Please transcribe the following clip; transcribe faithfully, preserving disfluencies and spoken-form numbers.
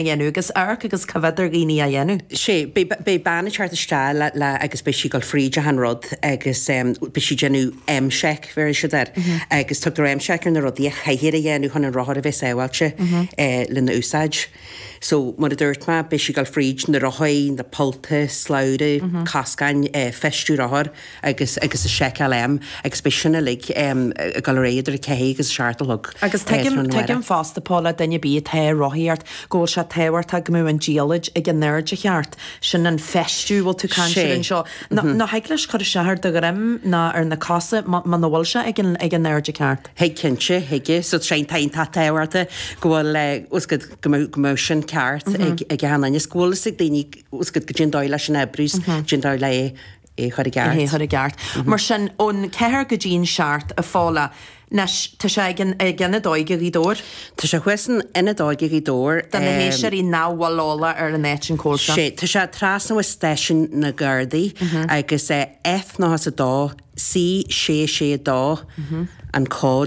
Dhéanamh agus amharc agus coimhéad ar dhaoine á dhéanamh. Sé, beidh bean ag teacht isteach le, le, agus beidh sí ag dul fríd achan rud agus beidh sí ag déanamh M-Check, bheir siad air, agus tugtar M-Check ar na rudaí a chaithfear a dhéanamh chun an rothar a bheith sábháilte lena úsáid. So, mar a dúirt mé, beidh sí ag dul fríd na rothaí, na pollta, slabhra, coscáin, feistiú rothar agus agus an seiceáil M agus beidh sin uilig ag dul ar aghaidh idir a ceathair agus a seacht a chlog. Agus tuigim, tuigim fosta, Paula, duine ar bith atá ag rothaíocht, go bhfuil sé tábhachtach go mbeadh an diallait ag an airde cheart, sin an feistiú a bhfuil tú ag caint air anseo. Nó thig leis cur isteach ar do dhroim ná ar na cosa muna bhfuil sé ag an ag an airde ceart. Thig cinnte, thig. So tá sé iontach tábhachtach go bhfuil, fhios agat, go mbeadh go mbeadh sin ceart ag ag achan duine is go bhfuil fhios ag daoine, fhios agat, goidé an dóigh leis an oibriú is goidé an dóigh le é é a chur i gceart. É a chur i gceart. Mar sin, ón ceathair go dtí an seacht, a Phaula, anois, tá sé ag an ag Ionad Óige Ghaoth Dobhair. Tá sé thuas in Ionad Óige Ghaoth Dobhair. Do na héisteoirí nach bhfuil eolach ar an áit an cá bhfuil sé. Sé, tá sé trasna ó Stáisiún na Gardaí agus F nócha is a dó C sé sé dó an cód.